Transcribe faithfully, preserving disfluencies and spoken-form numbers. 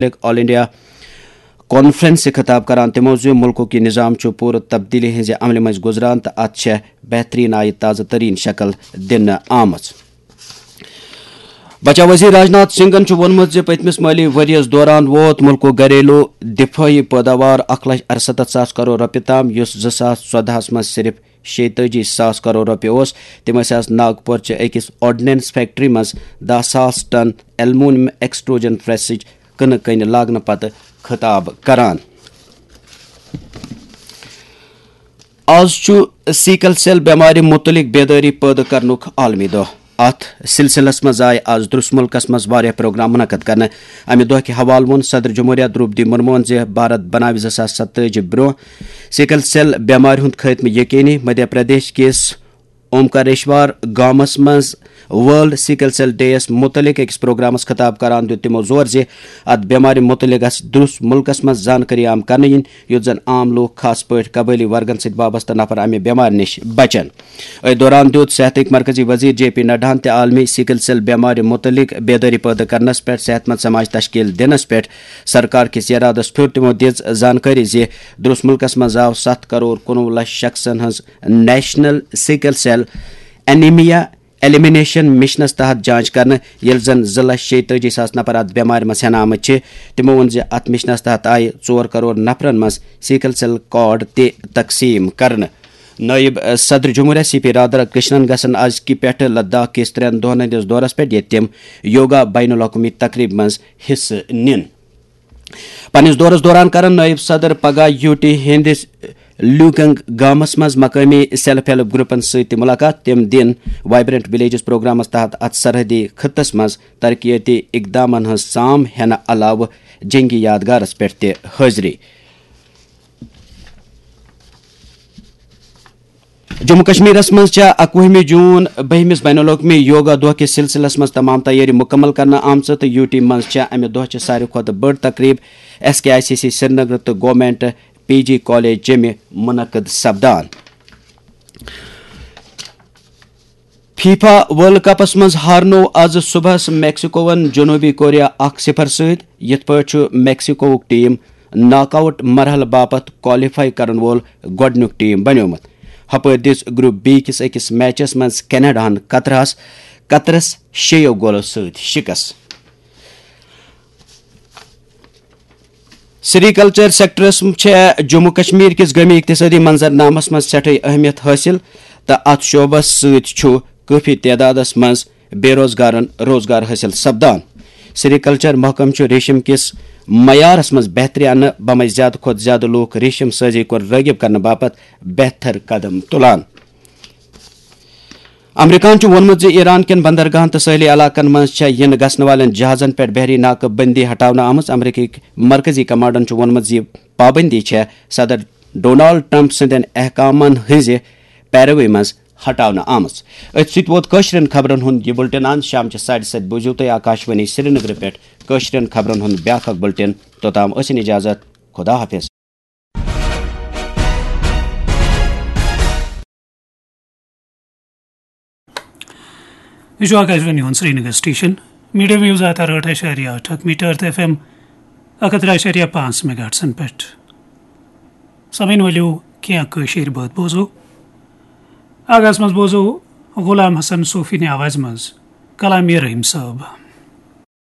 متعلق آل India conference سے خطاب کران تِمو زِ مُلکُک یہِ نظام چھُ پوٗرٕ تبدیلی ہٕنٛزِ عملہِ منٛز گُزران تہٕ اتھ چھےٚ بہتریٖن آیہِ تازٕ تریٖن شکل دِنہٕ آمٕژ۔ بچاو وزیر راجناتھ سنگھن چھُ ووٚنمُت زِ پٔتمِس مٲلی ؤریَس دوران ووت مُلکُک گھریلو دِفٲعی پٲداوار اکھ لچھ ارستتھ ساس کرور رۄپیہِ تام، یُس زٕ ساس ژۄدہَس منٛز صرف شیٚیہِ تٲجی ساس کرور رۄپیہِ اوس۔ تِم ٲسۍ آز ناگپور چہِ أکِس آرڈننس فیکٹری منٛز دَہ ساس ٹن ایلومینیم ایکسٹروجن پریسٕچ کٕنہٕ کٔنۍ لاگنہٕ پتہٕ خطاب کران۔ آز چھُ سیکل سیل بٮ۪مارِ مُتعلِق بیدٲری پٲدٕ کرنُک عالمی دۄہ۔ اتھ سلسلس منٛز آیہِ آز درس مُلکس منٛز واریاہ پروگرام منعقد کرنہٕ۔ امہِ دۄہ کہِ حوالہٕ ووٚن صدر جمہوریہ درٛوپدی مرموہن زِ بھارت بناوِ زٕ ساس ستٲجی برٛونٛہہ سیکل سیل بٮ۪مارِ ہُنٛد خٲتمہٕ یقینی۔ مدھیہ پردیش کِس اومکاریشور گامس منٛز ورلڈ سیکل سیل ڈے یَس مُتعلِق أکِس پروگرامس خطاب کران دیُت تِمو زور زِ اتھ بٮ۪مارِ مُتعلِق گژھِ درس مُلکس منٛز زانکٲری عام کرنہٕ یِنۍ، یُتھ زن عام لوٗکھ، خاص پٲٹھۍ قبٲیلی ورگن سۭتۍ وابستہٕ نفر، امہِ بٮ۪مارِ نِش بچن۔ أتھۍ دوران دیُت صحتٕکۍ مرکزی وزیر جے پی نڈاہن تہِ عالمی سیکل سیل بٮ۪مارِ مُتعلِق بیدٲری پٲدٕ کرنس پٮ۪ٹھ صحت مند سماج تشکیل دِنس پٮ۪ٹھ سرکار کِس ارادس پھیُر۔ تِمو دِژ زانکٲری زِ درس مُلکس منٛز آو ستھ کرور کُنوُہ لچھ شخصن ہٕنٛز national sickle cell anaemia elimination مشنس تحت جانچ کرنہٕ، ییٚلہِ زن زٕ لچھ شیٚیہِ تٲجی ساس نفر اتھ بٮ۪مارِ منٛز ہٮ۪نہٕ آمٕتۍ چھِ۔ تِمو ووٚن زِ اتھ مشنس تحت آیہِ ژور کرور نفرن منٛز سیکل سیل کارڈ تہِ تقسیٖم کرنہٕ۔ نٲیِب صدر جمہوریہ سی پی رادھا کرشنن گژھن أزکہِ پٮ۪ٹھٕ لداخ کِس ترٛٮ۪ن دۄہن ہٕنٛدِس دورس پٮ۪ٹھ، ییٚتہِ تِم یوگا بین الاقوٲمی تقریبہِ منٛز حصہٕ نِن۔ پننِس دورس دوران کرن نٲیِب صدر پگاہ یوٗ ٹی ہٕنٛدِس لیوکنگ گامس منٛز مقٲمی سیلف ہیلپ گروپن سۭتۍ تہِ مُلاقات۔ تِم دِن وائبرنٹ ولیجز پروگرامس تحت اتھ سرحدی خطس منٛز ترقیتی اقدامن ہٕنٛز سام ہینہٕ علاوٕ جنگی یادگارس پٮ۪ٹھ تہِ حٲضری۔ جموں کشمیرس منٛز چھےٚ اَکوُہمہِ جوٗن بٔہمِس بین الاقوٲمی یوگا دۄہ کِس سلسلس منٛز تمام تیٲری مُکمل کرنہٕ آمژٕ تہٕ یوٗ ٹی منٛز چھےٚ امہِ دۄہ چہِ ساروی کھۄتہٕ بٔڑ تقریب S K I C C Srinagar تہٕ گورنمنٹ پی جی کالج جیٚمہِ منعقد سپدان۔ فیفا ورلڈ کپس منٛز ہارنوو آز صبحس میکسیکوون جنوبی کوریا اکھ صفر سۭتۍ۔ یِتھ پٲٹھۍ چھُ میکسیکووُک ٹیم ناک آؤٹ مرحلہٕ باپتھ کوالیفائی کرن وول گۄڈٕنیُک ٹیم بنیومُت۔ ہپٲرۍ دِژ گروپ بی کِس أکِس میچس منٛز کینیڈاہن قطرس قطرس شیٚیو گولو سۭتۍ شکست۔ سری کلچر سیکٹرس چھےٚ جموں کشمیر کِس گٲمی اقتصٲدی منظرنامس منٛز سٮ۪ٹھٕے اہمیت حٲصِل تہٕ اتھ شعبس سۭتۍ چھُ کٲفی تعدادس منٛز بے روزگارن روزگار حٲصِل سپدان۔ سری کلچر محکمہٕ چھُ ریشم کِس معیارس منٛز بہتری اننہٕ بمے زیادٕ کھۄتہٕ زیادٕ لوٗکھ ریشم سٲزی کُن رٲغب کرنہٕ باپتھ بہتر قدم تُلان۔ امریکہن چھُ ووٚنمُت زِ ایران کٮ۪ن بندرگاہن تہٕ سٲحلی علاقن منٛز چھےٚ یِنہٕ گژھنہٕ والٮ۪ن جہازن پٮ۪ٹھ بحری ناکہٕ بندی ہٹاونہٕ آمٕژ۔ امریکی مرکزی کمانڈن چھُ ووٚنمُت زِ یہِ پابندی چھےٚ صدر ڈونالڈ ٹرمپ سٕنٛدٮ۪ن احکامن ہٕنٛزِ پیروی منٛز ہٹاونہٕ آمٕژ۔ أتھۍ سۭتۍ ووت کٲشرٮ۪ن خبرن ہُنٛد یہِ بُلٹن اند۔ شام چہِ ساڑِ ستہِ بوٗزِو تُہۍ آکاشوانی سرینگرٕ پٮ۪ٹھ کٲشرٮ۪ن خبرن ہُنٛد بیٛاکھ اکھ بُلٹن۔ توٚتام ٲسِن اجازت، خدا حافظ۔ یہِ چھُ آکاشوانی ہُنٛد سرینگر سٹیشن۔ میٖڈیم ویوز آتا رٲٹھ اَشاریہ ٲٹھ اکھ میٖٹر تہٕ ایف ایم اکھ ہتھ ترٛےٚ اَشاریہ پانٛژھ میگاہٹسن پٮ۪ٹھ۔ سامعیٖن، ؤلِو کینٛہہ کٲشِر بٲتھ بوزو۔ آغاز منٛز بوزو غلام حسن صوفی نہِ آوازِ منٛز کلام رحیم صٲب۔